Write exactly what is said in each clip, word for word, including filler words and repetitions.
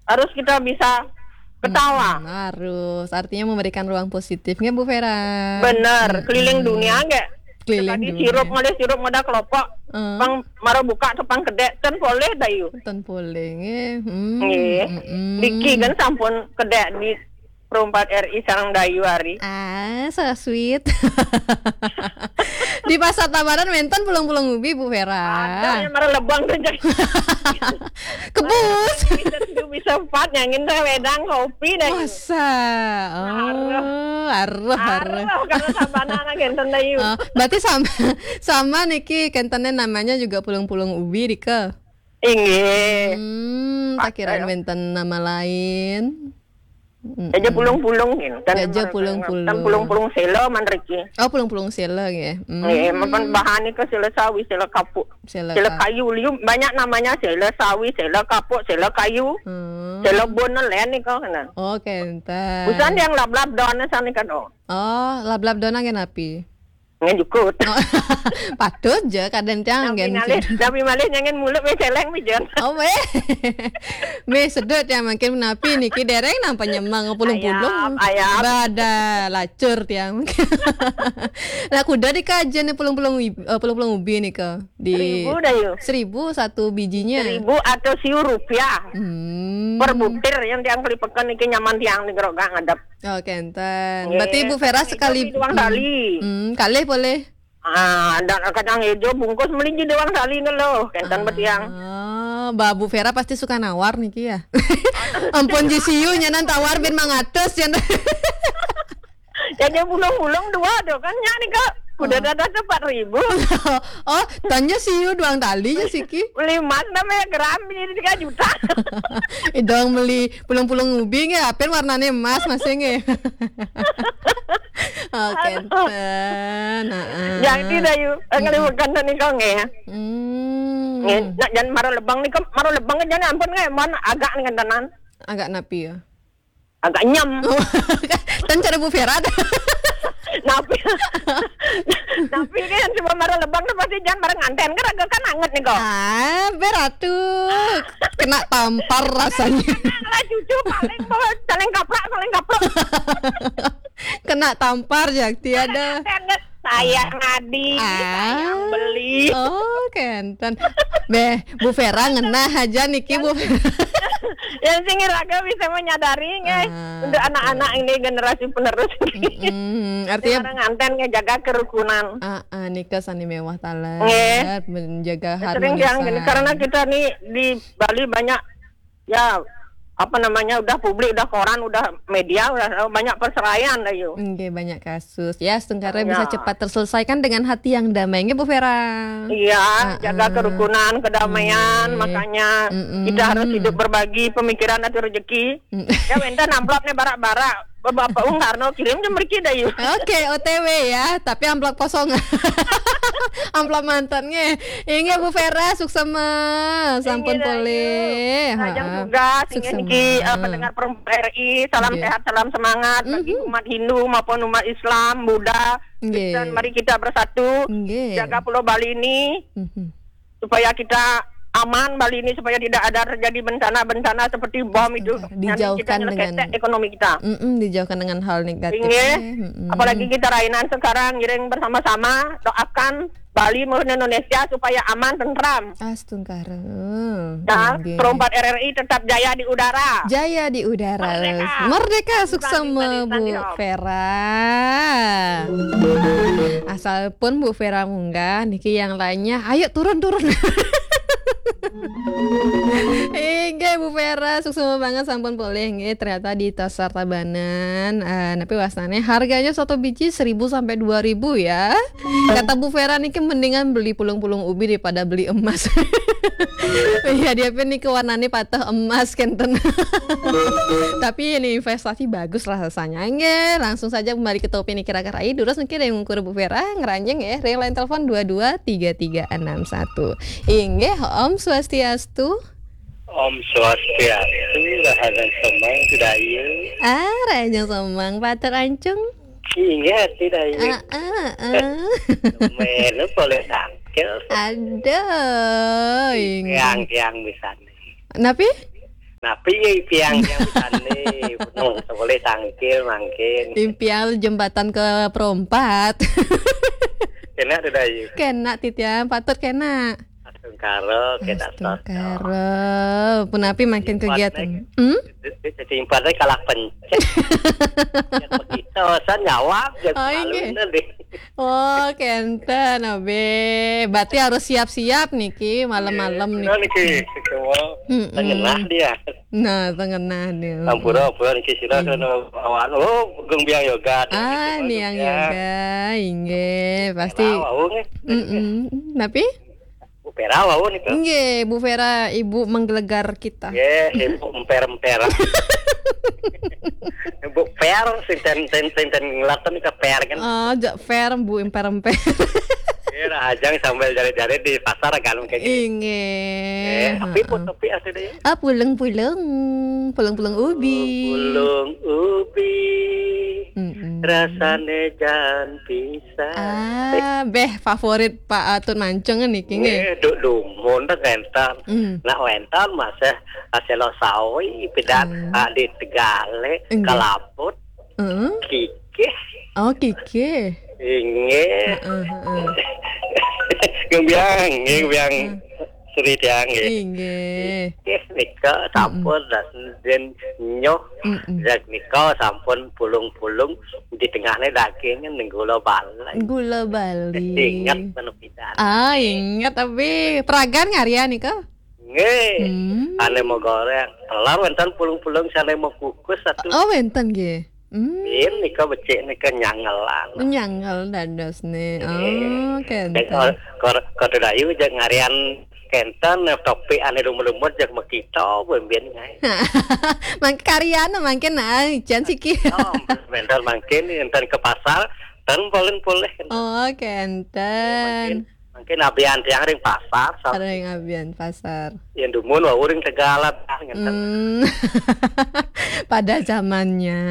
Harus kita bisa ketawa. Hmm, harus. Artinya memberikan ruang positif, nggih, Bu Vera? Bener, keliling dunia, nggih. Keliling dunia. Tadi sirup, ngalih sirup, ngedah kelopok. Hmm. Pang mara buka tu pang kedek, ten polih, Dayu. Ten polih, nggih. Hmm. Nggih. Niki kan sampun kedek di Pro empat R I sareng Dayu ari. Ah, so sweet. Di Pasar Tabanan wenten pulung-pulung ubi, Bu Vera. Ada yang mara lebang tu, Jeng. Kebus. Bisa tujuh, bisa empat, nyangin teh wedang kopi dah. Masa? Oh, aruh, aruh. Aruh, kalau sabana anak enten, Dayu. Oh, berarti sama, sama niki kentene namanya juga pulung-pulung ubi, Rika. Inggih. Hmm, tak kira wenten nama lain. Jaja pulung-pulung, kan. Jaja pulung-pulung. Kan pulung-pulung sela man riki. Oh, pulung-pulung sela, nggih. Hmm. Nggih, mapan bahan nika sela sawi, sela kapuk. Sela kayu, liu banyak namanya, sela sawi, sela kapuk, sela kayu. Hmm. Sela bon len nika kena. Oh, kenten. Busan yang lablab don sane kan, oh. Oh, lablab don nggih napi? Nggih jukut. Oh, patut je kadang tiang. Napi malih, napi malih nyangin mulut weh celeng, weh, Jen. Oh, weh. Weh, sedut ya, makin napi niki dereng nang panyemang pulung-pulung. Ayap, ayap. Bada lacur tiang. Nah, kuda di kajian ni pulung-pulung ib-, eh, pulung-pulung ubi ni ke? Di seribu dah, yu. Seribu satu bijinya. Seribu atau siu rupiah. Hmm. Per butir yang tiang kelipekan niki nyaman tiang ni geroga ngadep. Oh, kenten. Nggih, berarti Bu Vera sekali, duang tali. Hmm, kalih boleh. Ah, dan kadang ijo bungkus melinji duang tali ngelo, kenten betiang. Ah, Mbak Bu Vera pasti suka nawar niki ya. Ampun ji siu nyanan tawar bin mangatus ya. Jadi bulung-bulung dua tu kan nyak ni, Kak. Kuda dada tu empat ribu. Oh, tanya siu duang tali ya siki. Beli emas namanya gram ini tiga juta. Idong beli pulung-pulung ubi nggih, apen warnane emas masih nggih. Oh, kenten. Heeh. Jadi dah yu, ngeliwek kenten ni kau nggih. Hmm. Nggih, nak jan mara lebang ni, mara lebang jan ampun nggih, mon agak ni kentenan. Agak napi ya? Agak nyem. Kan cara Bu Vera. Napi? Napi kan cuma mara lebang tu pasti jan mara nganten kan, agak kan anget ni kau. Ah, beratu. Kena tampar rasanya. Lah cucu paling bawa saling kaprak, saling kaprak. Kena tampar, Jakti, ada. Saya ngadi, saya beli. Oh, kenten. Beh, Bu Vera ngenah aja niki, Bu Vera. Yang sing raga bisa menyadari, nggih. Ah, untuk anak-anak ini generasi penerus. Mm-mm. Artinya orang nganten nggih jaga kerukunan. Ah, ah, nika sani mewah taler, nggih. Menjaga harmonisasi. Sering yang gini, karena kita nih di Bali banyak ya, apa namanya, udah publik, udah koran, udah media, udah banyak perceraian dah, yu. Nggih, banyak kasus. Ya, setengkara bisa cepat terselesaikan dengan hati yang damai. Nggih, Bu Vera. Iya, jaga kerukunan, kedamaian, makanya kita harus hidup berbagi pemikiran atau rezeki. Ya, minta amplop nih barak-barak. Bapak Bung Karno kirim je mriki dah, yu. Oke, O T W ya, tapi amplop kosong. Amplop mantan nggih. Inggih Bu Vera, suksema. Sampun polih. Rajang tugas, inggih niki, eh, pendengar Perempuan R I, salam sehat, salam semangat bagi umat Hindu maupun umat Islam, Buddha, Kristen. Mari kita bersatu, jaga Pulau Bali ini. Supaya kita aman Bali ini, supaya tidak ada terjadi bencana-bencana seperti bom itu. Nanti kita dijauhkan dengan ekonomi kita. Mm-mm, dijauhkan dengan hal negatif. Inggih. Apalagi kita rainan sekarang, ngiring bersama-sama doakan Bali maupun Indonesia supaya aman, tentram. Astungkara. Dan Perempuan R R I tetap jaya di udara. Jaya di udara. Merdeka. Merdeka, suksema Bu Vera. Asal pun Bu Vera munggah, niki yang lainnya, ayo turun, turun. Inggih Bu Vera, suksema banget sampun polih nggih. Ternyata di Pasar Tabanan, eh, napi wastane harganya satu biji seribu sampai dua ribu ya. Kata Bu Vera niki mendingan beli pulung-pulung ubi daripada beli emas. Iya, dia pun niki warnanya patah emas kenten. Tapi ini investasi bagus lah rasanya. Nggih, langsung saja kembali ke topik niki, kira-kira durus niki ada yang ngukur Bu Vera, ngeranjing ya. Ring line telepon dua dua tiga tiga enam satu. Inggih, Om Swastiastu. Om Swastiastu, Rahayu Semang, Dayu. Ah, Rahayu Semang, Pater Ancung. Inggih, Dayu. Ah, ah, ah. Melu boleh tangkil. Aduh, inggih. Tiang-tiang bisa nih. Napi? Napi ya impiang yang bisa nih? Penuh sekolah tangkil mangkin. Impiang jembatan ke perempat. Kena tuh dah, yu. Kena titiang, patut kena. Astungkara, kena astungkara. Punapi makin kegiatan. Hmm? Jadi impatnya kalah pencet. Ya, begitu, saya nyawab, ya, oh, iya. Deh. Oh, kenten, Abe. Berarti harus siap-siap niki, malam-malam niki. Niki, semua. Mm-mm. Tengenah dia. Nah, tengenah dia. Ampura, ampura, niki sira kena awan. Oh, Gung Biang Yoga. Ah, Niang Yoga, inggih, pasti. Tahu, nggih. Mm-mm. Tapi? Bu Vera wau nika. Nggih, Bu Vera, Ibu menggelegar kita. Nggih, Ibu emper-emper. Bu Per, sinten, sinten, sinten ngelaten ke Per kan. Oh, jak fair, Bu emper-emper. Nggih, lah, ajang sambil jari-jari di pasar kan mungkin. Inggih. Nggih, tapi pun tapi asli deh. Ah, pulung-pulung, pulung-pulung ubi. Pulung ubi. Mm-mm. Rasane jan pisang. Ah, beh, favorit Pak Atut Mancung niki nggih. Nggih, duk dumun dah kenten. Hmm. Nak wenten masih hasil sawi pidan, ah, di Tegale, nggih. Kalaput, heeh. Kikih. Oh, kikih. Inggih. Heeh, heeh. Nggih, Biang, nggih, Biang. Heeh. Sri Tiang, nggih. Inggih. Nggih, nika sampun, mm-mm, dan nyoh. Mm-mm. Yak nika sampun pulung-pulung di tengahnya dagingnya ning gula bali. Gula bali. Ingat penepitan. Ah, ingat, tapi pragan ngarya nika? Nggih. Hmm. Ane mau goreng, telur wenten pulung-pulung, sane mau kukus satu. Oh, wenten nggih. Hmm. Bin nika becik nika nyangelan. Nyangel dados ne. Nggih. Oh, kenten. Kor-, kor-, kodo dayu jak ngarian kenten, topi ane lumut-lumut jak makita, ben-ben ngai. Mangke karyan, mangke nah, jan siki. Oh, bentar mangkin, enten ke pasar, ten polin poleh. Oh, kenten. Mangkin, mangkin abian tiang ring pasar, sa- Ada yang abian pasar. Yang dumun wau ring Tegalan, ah, ngenten. Hmm. Pada zamannya.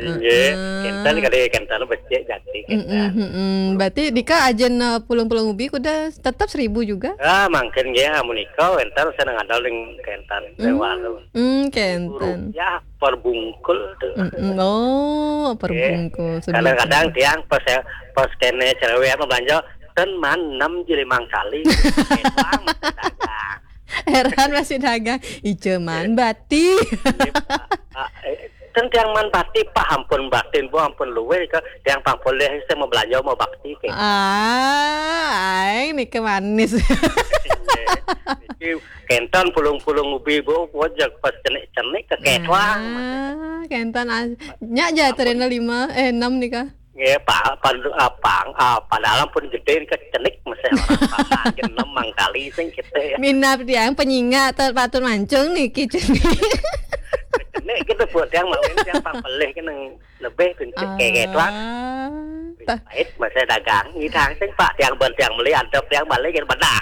Nggih, heeh. Kenten kali, kenten becik jati, kenten. Mm-mm, mm-mm. Berarti dika ajen, eh, pulung-pulung ubi kuda tetap seribu juga? Ah, mangkin nggih, amun nika wenten saya ngadal ring kenten, ring warung. Hmm, kenten. Rupiah per bungkul tuh. Mm-mm. Oh, per bungkul. Kadang-kadang tiang pas, pas kene cerewet belanja, ten man enam jili mangkali. Heran masih dagang. Ijo man bati. Iya, Pak. Ah, eh, ten tiang man bati, Pak, ampun batin, Bu, ampun luwih ke tiang pang poleh saya mau belanja, mau bakti ke. Ah, aing niki manis. Iya. Niki kenten pulung-pulung ubi, Bu, wajak pas cenik-cenik ke ketwang. Ah, kenten as-, nyak ja terena lima, eh, enam nika. Nggih, Pak, pan-, ah, pang, ah, padahal pun gede ke cenik masih orang paman, enam mangkali sing kita ya. Minap tiang penyinga ter-, patut mancung niki cenik. Cenik gitu, Bu, tiang mawin tiang pang pelih ke nang lebih pintu kayak ketwang. Ah, tah. Pahit masih dagang, ngidang sing Pak, tiang ben tiang beli, adep tiang balik, gitu, bedah.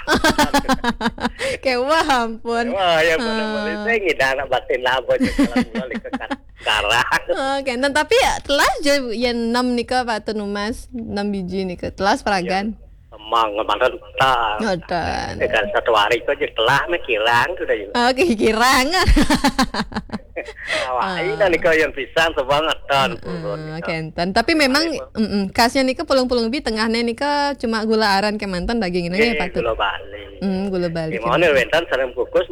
Kewah, ampun. Wah, ya, benar, ah, beli sing ngidang anak batin lah, bocah kalau mulai ke kan. Garang. Oh, kenten. Tapi ya, telas je yen enam nika, Pak Tun Umas, enam biji nika. Telas pragan. Ya, emang kemarin tak. Ngoten. Dengan satu hari kok je telah nih kirang sudah ya. Oke, kirang. Awai, ah, dan nika yang pisang sebanget tan. Heeh, kenten. Tapi memang, mm-mm, khasnya nika pulung-pulung ubi tengahnya nika cuma gula aren kemanten daging ini ya, eh, Pak Tun? Gula Bali. Hmm, gula Bali. Gimana kenten. Wenten sareng kukus,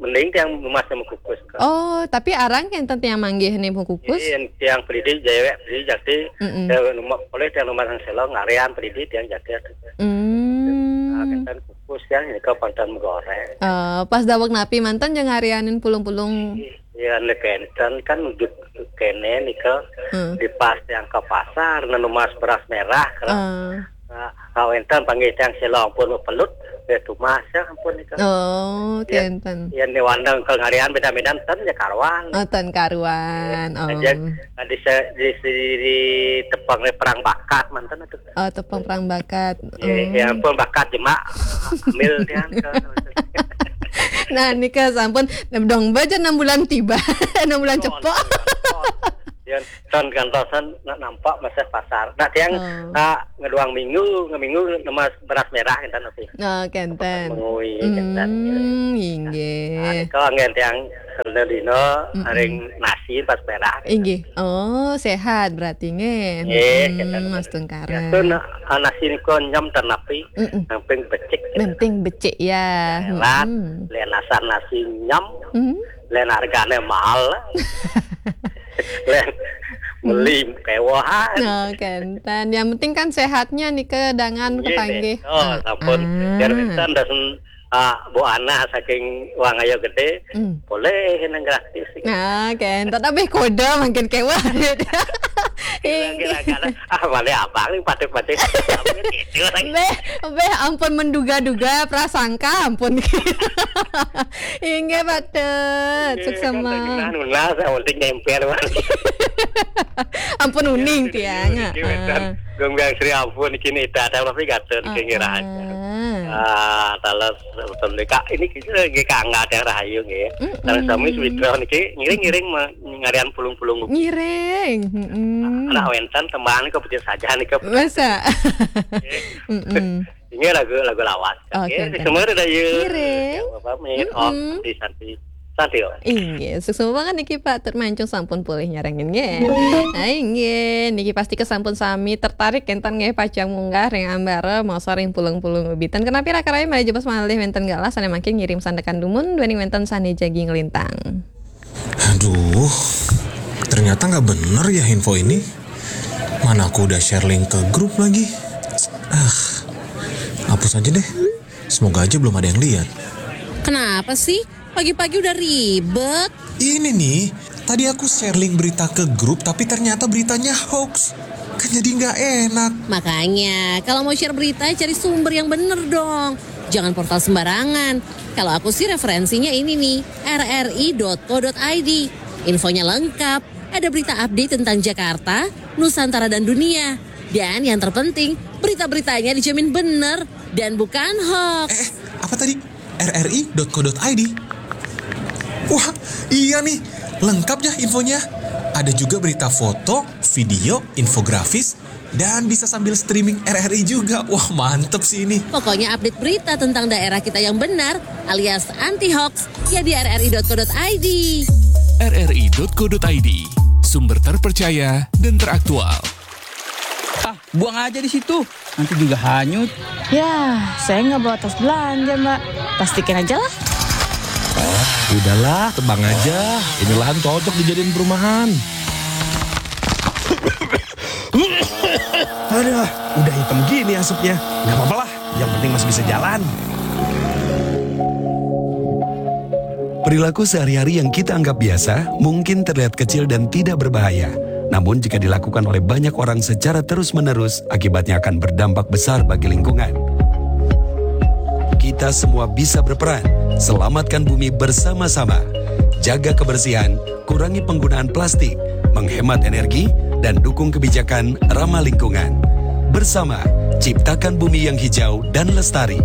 mending tiang emas sama kukus. Oh, tapi arang kenten tiang manggih nih mau kukus? Iya, yang tiang pelidi, jewek pelidi, jadi, mm-mm, eh, rumah, boleh tiang rumah yang selong, ngarian pelidi, tiang jaket. Hmm. Nah, kenten kukus, tiang ini ke pantan goreng. Eh, pas dawek napi manten jeung ngarianin pulung-pulung? Iya, nek kenten kan ujuk kene nih ke, hmm, di pas yang ke pasar, nenu mas beras merah, kalau, ah, nah, kawenten panggih tiang selong pun pelut, ya tumas ya ampun nih ke. Oh, ya, kenten. Ya, ini wandang ke ngarian beda-beda ten ya karuan. Oh, ten karuan. Ya, oh. Aja, nah, di, se-, di, di, di tepang perang bakat manten itu. Oh, tepang perang bakat. Ya, oh, ya ampun, bakat jemak. Ambil tiang ke. Nah, nika sampun dong baca enam bulan tiba. Enam bulan cepok. Ya, tan kantosan nak nampak masih pasar. Nah, tiang, oh, ah, ngeduang minggu, ngeminggu nemas beras merah kenten tapi. Oh, kenten. Mengui kenten. Hmm, inggih. Nah, nika anggen tiang Sedina dina ring nasi pas perah. Inggih. Oh, sehat berarti nggih. Nggih, sehat. Mas Tungkara. Biasa na-, ah, nasi nika nyem tan napi, yang penting becik. Yang penting becik ya. Sehat. Lén asal nasi nyem, lén hargane mahal. Lén meli kewahan. Oh, kenten. Yang penting kan sehatnya nika dangan kepanggih. Oh, sampun. Biar wénten ah, Bu Ana saking Wangaya Gedé, boleh nang gratis. Nah, kan. Tapi kode makin kewah. Kira-kira, ah, balik abang nih, patut-patut. Beh, beh, ampun menduga-duga, prasangka, ampun. Inggih, patut. Suksema. Nunas, yang penting nempel, Wan. Ampun uning, tiang. Gong biang Sri ampun, kini ita, tapi gatun, kengiraan. Ah, talas, betul deh, Kak. Ini kita lagi kangga yang rahayu, nggih. Nang sami Sumitra niki ngiring-ngiring ngarian pulung-pulung. Ngiring. Anak wénten tembang nika becik saja nika. Masa? Ini lagu, lagu lawas. Oke, oke. Semua ada ya. Ngiring. Pamit. Oh, santi, santi. Santi, oh. Inggih, suksma banget niki Pak Tut Mancung sampun pulih nyarengin nggih. Ah, inggih, niki pasti kesampun sami tertarik kénten nggih pacang munggah ring ambara masa ring pulung-pulung ubitan. Kenapi raka rai malih jebos malih wénten galah sané mangkin ngirim sandekan dumun duaning wénten sané jagi nglintang. Aduh, ternyata nggak bener ya info ini. Mana aku udah share link ke grup lagi. Ah, hapus aja deh. Semoga aja belum ada yang lihat. Kenapa sih? Pagi-pagi udah ribet. Ini nih, tadi aku share link berita ke grup, tapi ternyata beritanya hoax. Kan jadi nggak enak. Makanya, kalau mau share berita, cari sumber yang bener dong. Jangan portal sembarangan. Kalau aku sih referensinya ini nih, rri.co.id. Infonya lengkap, ada berita update tentang Jakarta, Nusantara dan dunia. Dan yang terpenting, berita-beritanya dijamin bener dan bukan hoax. Eh, apa tadi? rri.co.id. Wah, iya nih, lengkap ya infonya. Ada juga berita foto, video, infografis, dan bisa sambil streaming R R I juga. Wah, mantep sih ini. Pokoknya update berita tentang daerah kita yang benar alias anti hoax ya di rri.co.id. rri.co.id, sumber terpercaya dan teraktual. Ah, buang aja di situ. Nanti juga hanyut. Ya, saya nggak bawa tas belanja, Mbak. Plastikin aja lah. Udahlah, tebang aja. Ini lahan cocok dijadiin perumahan. Aduh, udah hitam gini asapnya. Nggak apa-apa lah, yang penting masih bisa jalan. Perilaku sehari-hari yang kita anggap biasa mungkin terlihat kecil dan tidak berbahaya. Namun jika dilakukan oleh banyak orang secara terus-menerus, akibatnya akan berdampak besar bagi lingkungan. Kita semua bisa berperan. Selamatkan bumi bersama-sama. Jaga kebersihan, kurangi penggunaan plastik, menghemat energi, dan dukung kebijakan ramah lingkungan. Bersama, ciptakan bumi yang hijau dan lestari.